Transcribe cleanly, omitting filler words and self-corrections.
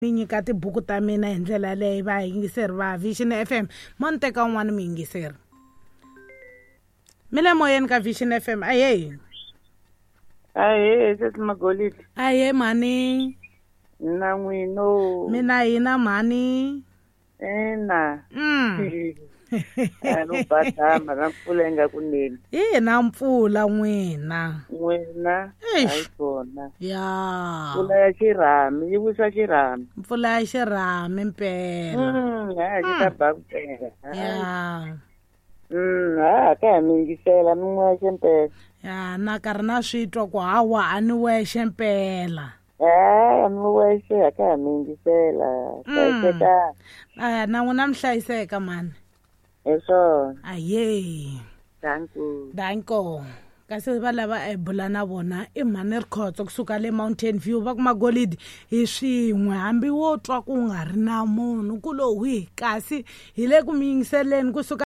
Ni nyika tibuku ta mina hi ndlela yaleyo vayingiseri va Vision FM. Mo ni teka un'wana muyingiseri. Mi le moyeni ka Vision FM. Ahee. Ahee, sesi Magolidi. Ahee mhani. Na n'wino. Mina hina mhani. Ina. A no badama na mpfula yi nga ku neni. Hi na mpfula n'wina. N'wina. Eish. Hayi kona. Ya. Mpfula ya xirhami yi wisa xirhami. Mpfula ya xirhami mpela. Ha xi ta ba ku pela. Ya. Ha ka ha mi yingisela mi n'wexe mpela. Ya na karhi na swi twa ku hawa a ni wexe mpela. Ha mi wexe ha ka ha mi yingisela. Hlayisekani. Na n'wina mi hlayiseka mhani. Hi swona. Ahee. Danko. Danko. Kasi va lava a hi bula na vona i mhani Rikhotso kusuka le Mountain View va ku Magolidi hi swin'we hambi wo twa ku nga ri na munhu ku lo hwi kasi hi le ku mi yingiseleni kusuka.